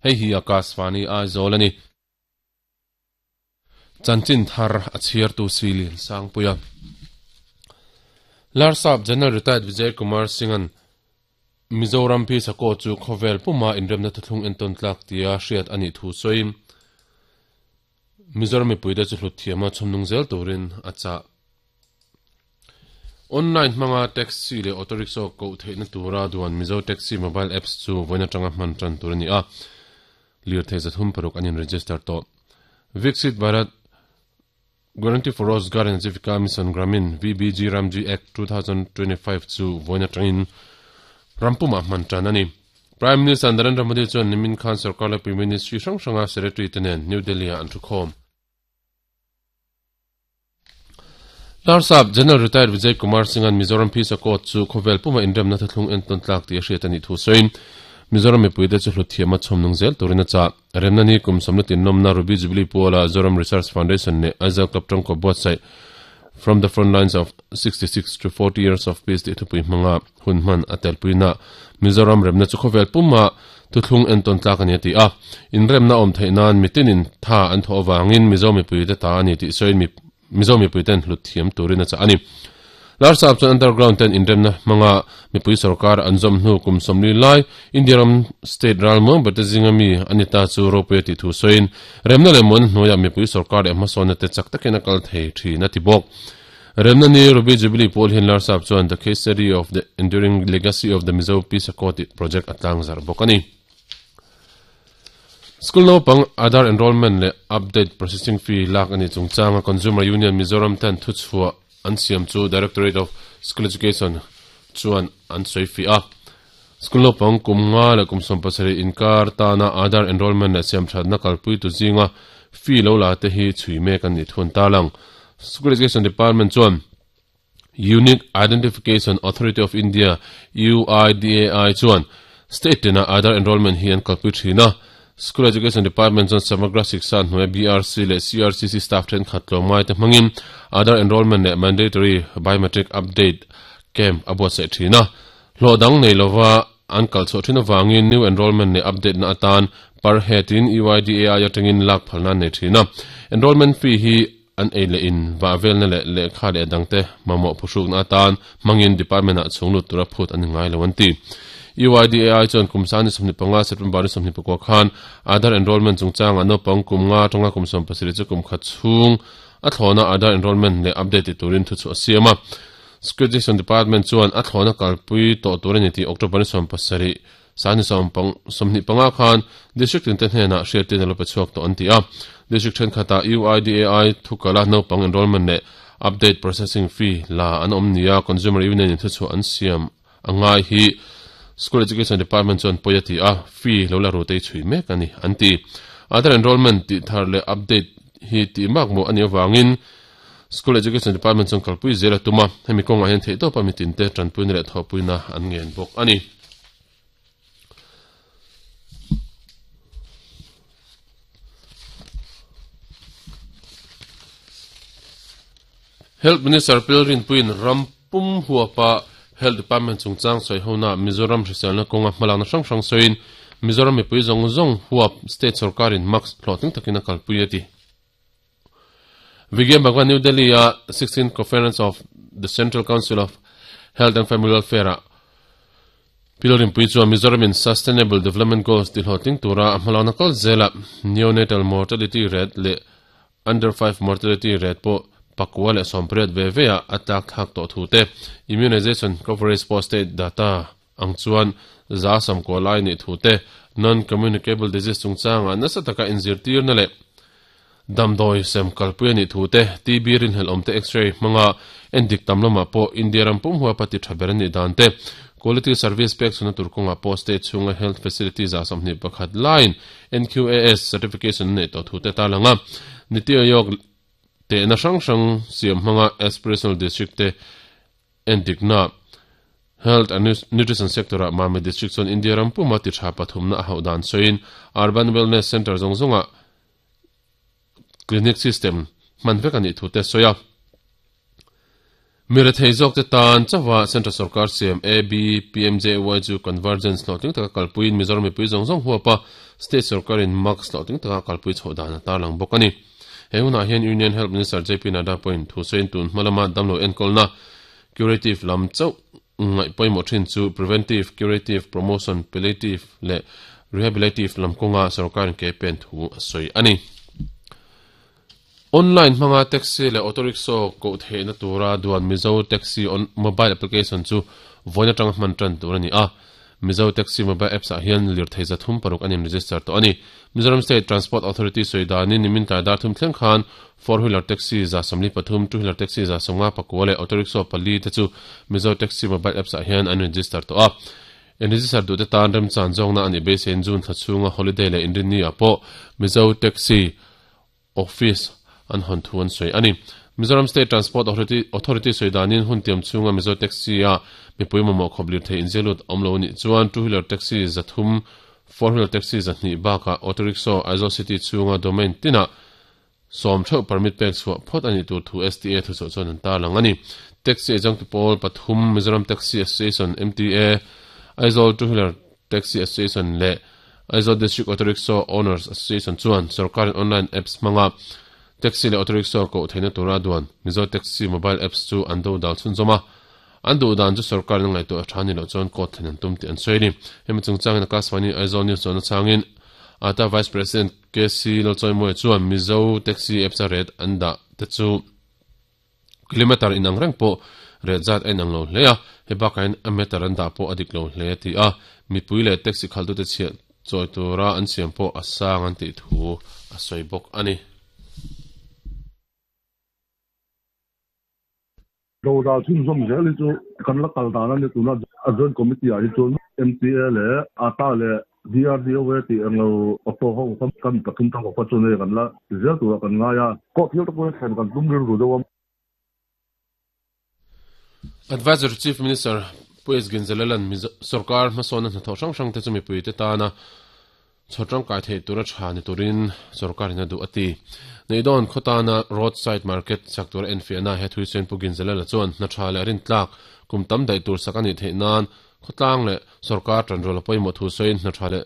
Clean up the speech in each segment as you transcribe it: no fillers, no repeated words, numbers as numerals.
Hei hi Akashvani Aizawl a ni. Chanchin thar a chhiartu Silian Sangpuia. Larsap General Retired Vijay Kumar Singh-a'n Mizoram Peace Accord chu khawvel puma inremna thuthlung entawn tlak tia hriat a nih thu sawiin Mizoram mipuite chu hlut thiama chhawmnung zel turin a chah. Online hmanga taxi leh auto rickshaw koh theihna tura duan Mizo Taxi Mobile Apps chu vawiin atanga hman tan tur a ni a, lirthei 306 an in-register tawh. Viksit Bharat Guarantee for Rozgar and Ajeevika Mission Gramin, VBG Ramji Act, 2025 chu vawiin atangin rampumah hman tan a ni. Prime Minister Narendra Modi chuan nimin khan sorkar laipui ministry hrang hranga secretary te nen New Delhi-ah an thukhawm. Larsap General Retired Vijay Kumar Singh-a'n Mizoram Peace Accord chu khawvel puma inremna thuthlung entawn tlak tih a hriat a nih thu sawiin Mizoram mipuite chu hlut thiama chhawmnung zel turin a chah. Remna ni kum sawmna tinnawmna Ruby Jubilee Puala Zoram Research Foundation leh Aizawl Club tangkaw buatsaih From the Front Lines of 66 to 40 Years of Peace tih thupui hmanga hun hman a telpuina Mizoram remna chu khawvel puma thuthlung entawn tlak a ni a ti a. Inremna awm theih nan mitinin tha an thawh avangin Mizo mipuite ta a ni tih sawiin Mizo mipuiten hlut thiam turin a chah a ni. Larsap chuan underground ten inremna hmanga mipui sorkar an zawm hnu kum 40 lai India ram state ral muang berte zinga mi a ni ta chu ropui a tih thu sawiin remna leh muan hnuaiah mipui sorkar leh hmasawnna te chak takin a kal thei thin a ti bawk. Remna ni Ruby Jubilee pawl hian Larsap chuan The Case Study of the Enduring Legacy of the Mizo Peace Accord tih project a tlangzarh bawk a ni. School naupang Aadhaar enrollment leh update processing fee lak a nih chungchanga Consumer Union Mizoram ten thuchhuah an siam chu Directorate of School Education chuan an sawi fiah a. School naupang kum nga leh kum 70 inkar tana Aadhaar enrollment leh siamthatna kalpuitu zinga fee lo la te hi chhui mek an nih thu an tarlang. School Education Department chuan Unique Identification Authority of India, UIDAI, chuan state tina Aadhaar enrollment hi an kalpui thin a. School Education Department chuan Samagra Shiksha hnuaia BRC leh CRCC staff thenkhat tlawmngai te hmangin Aadhaar enrollment leh mandatory biometric update camp a buatsaih thin a. Hlawh dang nei lova an kal chhuah thin avangin new enrollment leh update na atan per head in UIDAI atangin lak phalna an nei thin a. Enrollment fee hi An ei leh in vah velna leh lehkha leh dangte mamawh phuhrukna atan hmangin department ah chhung lut tura phut an ni ngai lo an ti. UIDAI chuan kum sang ni 25 September ni 24 khan Aadhaar enrollment chungchangah naupang kum nga atanga kum 17 chu kum khat chhung a thlawna Aadhaar enrollment leh update ti turin thuchhuah a siam a. Education Department chuan a thlawna kalpui tawh tur a ni tih October ni 17 Sani 25 khan District tinte hnenah hriattirna lo pe chhuak tawh an ti a. District thenkhatah UIDAI thukala naupang enrollment leh update processing fee la an awm nia Consumer Union in thuchhuah an siam a ngai hi School Education Department chuan pawi a ti a, fee lo la ru te hi chhui mek a ni an ti. Aadhaar enrollment tih thar leh update hi tih mak mawh a nih avangin School Education Department chuan kalpui zel a tum a, hemi kawngah hian theihtawpa mitinte tanpuina leh thawhpuina an ngen bawk a ni. Health Minister Pilrinpuiin ram pum huapa Health Department chungchang sawi hona Mizoram hriselna kawnga hmalakna hrang hrang sawiin Mizoram mipui zawng zawng huap state sorkarin mask hlawhtling takin a kalpui a ti. Vigyan Bhagwan New Delhi a 16th Conference of the Central Council of Health and Family Welfare ah Pilrinpui chuan Mizoram in Sustainable Development Goals ti hlawhtling tura a hmalakna kal zela neonatal mortality rate leh under 5 mortality rate pawh pakua leh 80 ve ve ah a tlak thlak tawh thu te immunization coverage pawh state data ang chuan za samkua lai nih thu te non-communicable disease chungchangah nasa taka inzirtirna leh Damdawi sem kalpui a nih thu te, TB rinhlelh awm te X-ray hmanga endik tam lamah pawh India ram pum huapa ti tha ber a nih dan te, Quality Service pek chhunna tur kawngah pawh state chhunga health facility 21 laiin NQAS certification a neih tawh thu te tarlang a. Niti Aayog tehna hrang hrang siam hmanga Aspirational District te endikna Health and Nutrition sector-ah Mami District chuan India ram puma ti tha pathumna a hauh dan sawiin Urban Wellness Centre zawng zawngah Clinic system hman vek a nih thu te sawi a. Mi rethei zawkte tan chauha Central Sorkar siam AB-PMJAY chu Convergence hlawhtling taka kalpuiin Mizoram mipui zawng zawng huapa State Sorkarin Max hlawhtling taka kalpui chhoh dan a tarlang bawk a ni. He hunah hian Union Health Minister JP Nadda pawhin thu sawiin tun hma lama damlo enkawlna curative lam chauh ngaih pawimawh thin chu preventive, curative, promotion, palliative leh rehabilitative lam kawnga sorkarin ke pen thu a sawi a ni. Online hmanga taxi leh auto rickshaw koh theihna tura duan Mizo Taxi on mobile application chu vawiin atanga hman tan tur a ni a. Mizo Taxi mobile apps ah hian lirthei 306 an in-register tawh a ni. Mizoram State Transport Authority sawi danin nimin tlai dar thum thleng khan four wheeler taxi 73, two wheeler taxi 59 leh auto rickshaw pali te chu Mizo Taxi mobile apps ah hian an register tawh a. In-register duhte tan remchan zawkna a nih beiseiin June thla chhunga holiday leh inrinni ah pawh Mizo Taxi Office an hawn thu an sawi a ni. Mizoram State Transport Authority sawi danin hun tiam chhunga Mizo Taxi-a mipui mamawh khawp lirthei inzialut awm lo anih chuan two wheeler taxi 300, four wheeler taxi 200 bakah auto rickshaw Aizawl City chhunga domain tinah 10 theuh permit pek chhuah phawt a nih tur thu STA thuchhuah chuan an tarlang a ni. Taxi eizawngtu pawl pathum Mizoram Taxi Association, MTA, Aizawl Two Wheeler Taxi Association leh Aizawl District Auto Rickshaw Owners Association chuan sorkarin online apps hmanga taxi leh auto rickshaw koh theihna tura duan Mizo Taxi mobile apps chu an do dal chhunzawm a, an duh dan chu sorkarin a ngaihtuah a tha ni loh chuan court thlen an tum tih an sawi a ni. Hemi chungchangin Akashvani Aizawl News chuan a chhangin ata Vice President KC Lalchawimawia chuan Mizo Taxi apps a rate an dah te chu Kilometre inang reng pawh reh zat a inang lo hle a, hei bakah hian a meter an dah pawh a dik lo hle a ti a, mipui leh taxi khalhtute chhiah chawi tura an siam pawh a sang an tih thu a sawi bawk a ni. Dodal chhunzawm zel hi chu kan la kal dan a ni tuna a joint committee ah hi chuan MTA leh ata leh DRDOA tih eng lo auto ho kha kan pathum tang kawp kha chuan hei kan la ti zel turah kan ngai a, court hial te pawh hi thlen kan tum rilru deuh a. Adviser to Chief Minister Pu S. Ginzalela'n sorkar hmasawnna hnathawh hrang hrangte chu mipuite tana chhawr tangkai theih tura tha ni turin sorkarin a duh a ti. Neihdawn khaw tana road side market sak tura enfiahna he thuisawiin Pu Ginzalela chuan hna tha leh rintlak kum tam daih tur sak a nih theih nan Khawtlang leh sorkar tanrual a pawimawh thu sawiin hna tha leh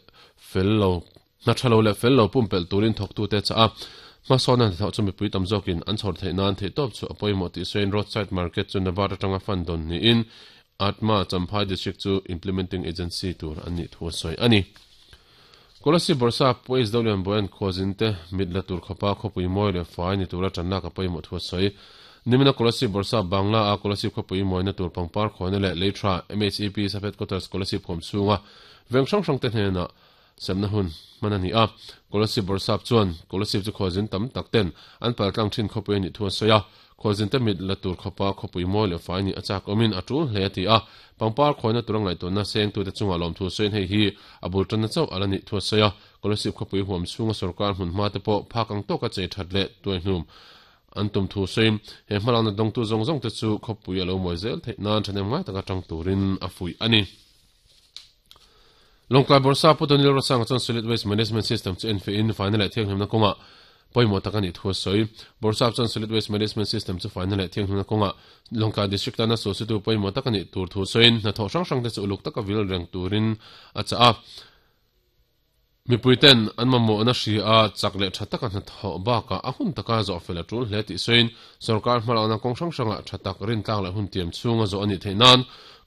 fel lo, hna tha lo leh fel lo pumpelh turin thawktute a chah a. Hmasawnna hnathawh chu mipui tam zawkin an chhawr theih nan theihtawp chu a pawimawh tih sawiin roadside market chu Nabard atanga fund dawn niin Atma Champhai District chu implementing agency tur an nih thu a sawi a ni. Kolasib Bawrhsa Puais Dolian Boyan khuazinte mit la tur khawpa khawpui mawi leh fai ni tura tanlak a pawimawh thu a sawi. Nimina Kolasib Bawrhsa Bangla a Kolasib khawpui mawina tur pangpar khawina leh lei tha MHEP Sub Headquarters Kolasib khawm chhunga veng hrang hrangte hnenah semna hun hman a ni a. Kolasib Bawrhsap chuan Kolasib chu khuazin tam tak ten an paltlang thin khawpui a nih thu a sawi a. Khualzinte mit la tur khawpa khawpui mawi leh fai nih a chak awmin a tul hle a ti a, pangpar khawina tura ngaihtuahna sengtute chungah lawmthu sawiin hei hi a bul tanna chauh a la nih thu a sawi a, Kolasib khawpui huam chhunga sorkar hmun hma te pawh phak ang tawka chei that leh tuaihnum an tum thu sawiin he hmalakna dawngtu zawng zawng te chu khawpui a lo mawi zel theih nan thahnem ngai taka tang turin a fuih a ni. Lawngtlai Bawrhsa Pu Daniel Rosanga chuan Solid Waste Management System chu enfiahin faina leh thianghlimna kawngah pawimawh tak a nih thu a sawi. Bawrhsap chuan Solid Waste Management System chu faina leh thianghlimna kawngah Lawngtlai District tana sulsitu pawimawh tak a nih tur thu sawiin hnathawh hrang hrangte chu uluk taka vil reng turin a chah a. Mipuiten an mamawhna hria a, chak leh tha taka hnathawh bakah a hun taka zawh fel a tul hle tih sawiin sorkar hmalakna kawng hrang hrangah tha tak rintlak leh hun tiam chhunga zawh a nih theih nan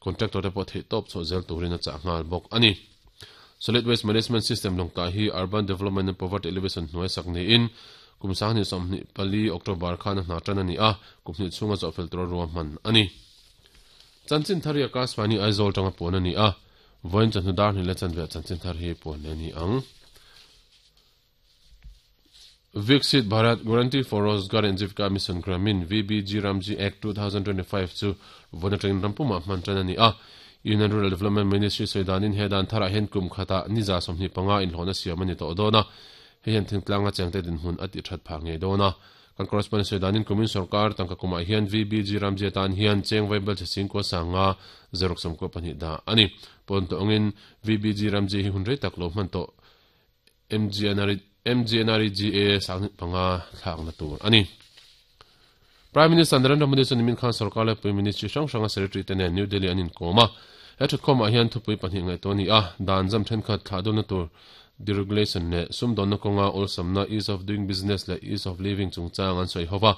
contractor te pawh theihtawp chhuah zel turin a chah nghal bawk a ni. Solid Waste Management System lawngtlai hi Urban Development and Poverty Alleviation hnuai sak niin kum 2024 October khan a hna tan a ni a, kum hnih chhunga zawh fel tura ruahman a ni. Chanchin thar hi Akashvani Aizawl tanga puan a ni a. Vawiin chawhnu dar hnih leh chanve chanchin thar hi puan leh a ni ang. Viksit Bharat Guarantee for Rozgar and Jeevika Mission Gramin, VBG Ramji Act 2025 chu vawiin atangin ram pumah hman tan a ni a. Union Rural Development Ministry sawi danin he dan tharah hian kum khatah ni 25 inhlawhna siam a ni tawh dawn a. Hei hian thingtlanga chengte dinhmun a tih that phah ngei dawn a. Kan correspondent sawi danin kumin sorkar tangka kumah hian VBG Ramji atan hian cheng vaibel chhe sing kua sanga zaruk sawmkua pahnih dah a ni. Pawn tawh angin VBG Ramji hi hun rei tak lo hman tawh MGNREGA sanghnih panga thlakna tur a ni. Prime Minister Narendra Modi chuan nimin khan sorkar leh pui ministry hrang hranga secretary te nen New Delhi an inkawm a. He thutkhawmah hian thupui pahnih ngaihtuah a ni a, dan zam thenkhat thlah dawlna tur deregulation leh sumdawnna kawnga awlsamna ease of doing business leh ease of living chungchang an sawi ho va.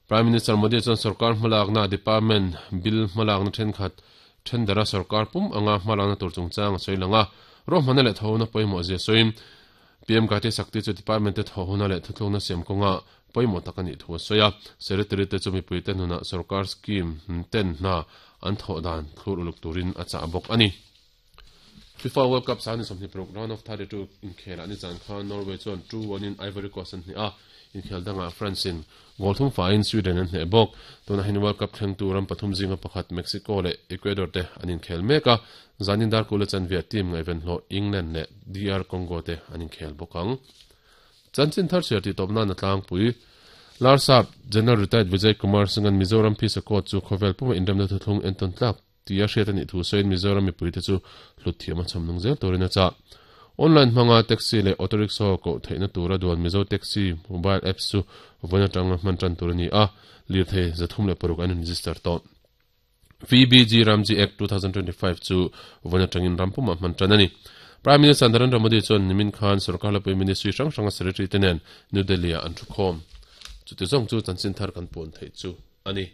Prime Minister Modi chuan sorkar hmalakna department bill hmalakna thenkhat thendara sorkar pum anga hmalakna tur chungchang a sawi lang a, ruahmanna leh thawhna pawimawh zia sawiin PM Gati Shakti chu department te thawh huna leh thuthlukna siam kawnga pawimawh tak a nih thu a sawi a. Secretary te chu mipuite hnunah sorkar scheme ten hna an thawh dan thlur uluk turin a chah bawk a ni. FIFA World Cup 26 round of 32 inkhelah nizan khan Norway chuan 2-1 in Ivory Coast an hneh a, inkhel dangah France in goal thum faiin Sweden an hneh bawk. Tunah hian World Cup thlengtu ram pathum zinga pakhat Mexico leh Ecuador te an inkhel mek a, zanin darkul a chanve team ngaihven hlawh England leh DR Congo te an inkhel bawk ang. Chanchin thar chhiar tih tawp nan a tlangpui. Larsap General Retired Vijay Kumar Singh-a'n Mizoram Phisa Court chu khawvel puma inremna thuthlung entawn tlak Tia hriat a nih thu sawiin Mizoram mipuite chu hlut thiam a chhawm nung zel turin a chah. Online hmanga taxi leh auto rickshaw koh theihna tura duan Mizo Taxi mobile apps chu vawiin atanga hman tan tur a ni a, lirthei 306 an in-register tawh. VBG Ramji Act 2025 chu vawiin atangin ram pumah hman tan a ni. Prime Minister Narendra Modi chuan nimin khan sorkar hlapui ministry hrang hranga secretary te nen New Delhi-ah an thukhawm. Chuti zawng chu chanchin thar kan puan theih chu a ni.